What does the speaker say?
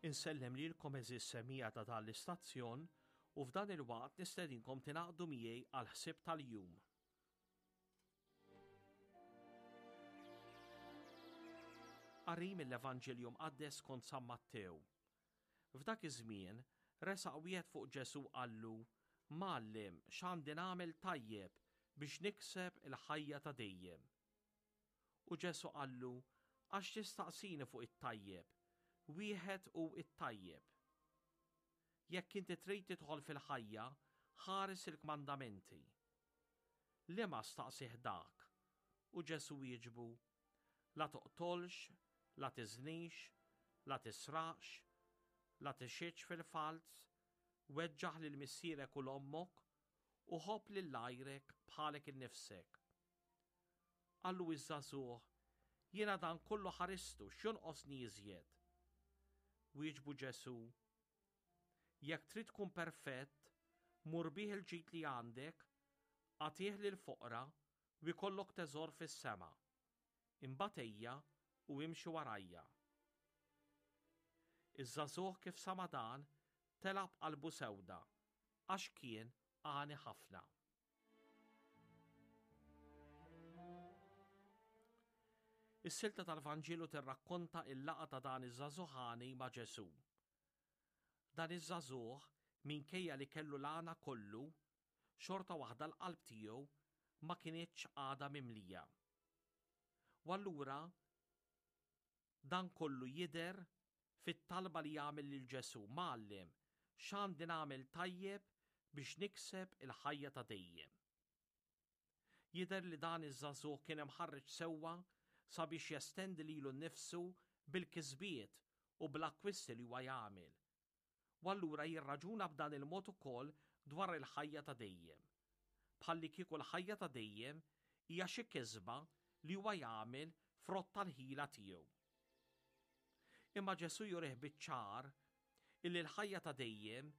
Insellem lilkom għeżież semmiegħa ta' dan l-istazzjon u f'dan il-waqt nistedinkom tingħaqdu miegħi għall-ħsieb tal-jum. Qari mill-Evanġelju Mqaddes skont San Mattew. F'dak iż-żmien resaq wieħed fuq Ġesù qallu, Mgħallem, x'għandi nagħmel tajjeb biex nikseb il-ħajja ta' dejjem? U Ġesù qallu, Għax tistaqsini fuq it-tajjeb? Wieħed hu t-tajjeb. Jekk inti trid tidħol fil-ħajja, ħares il-kmandamenti. Liema staqsieh dak? U Ġesù wieġbu, La toqtolx, la tiżnix, la tisraqx, la tixhidx fil-falz, weġġaħ lil missierek u 'l ommok, u ħobb lil għajrek bħalek innifsek. Qallu iż-żagħżugħ, Jiena dan kollu ħaristu, x'jonqosni iżjed? Wieġbu Ġesù, Jekk trid tkun perfett, mur bih il-ġid li għandek, agħtih lill-foqra u jkollok teżor fis-sema. Imbagħad ejja u imxi warajja. Iż-żagħżugħ kif sama' dan, telaq b'qalbu sewda, għax kien għani ħafna. Is-silta tal-Vanġelu tirrakkonta il-laqgħa ta' dan iż-żagħżugħ għani ma' Ġesù. Dan iż-żagħżugħ, minkejja li kellu l-għana kollu, xorta waħda l-qalb tiegħu ma kinitx għadha mimlija. U allura Dan kollu jidher fit-talba li jagħmel lil Ġesù, Mgħallem, x'għandi nagħmel tajjeb biex nikseb il-ħajja ta' dejjem? Jidher li dan iż-żagħżugħ kien imħarreġ sewwa sabiex jestendi lilu nnifsu bil-kisbiet u bl-akkwisti li huwa jagħmel. U allura jirraġuna b'dan il-mod ukoll dwar il-ħajja ta' dejjem. Bħallikieku l-ħajja ta' dejjem hija xi kisba li huwa jagħmel frott tal-ħila tiegħu. Imma Ġesù jurih biċ-ċar illi l-ħajja ta' dejjem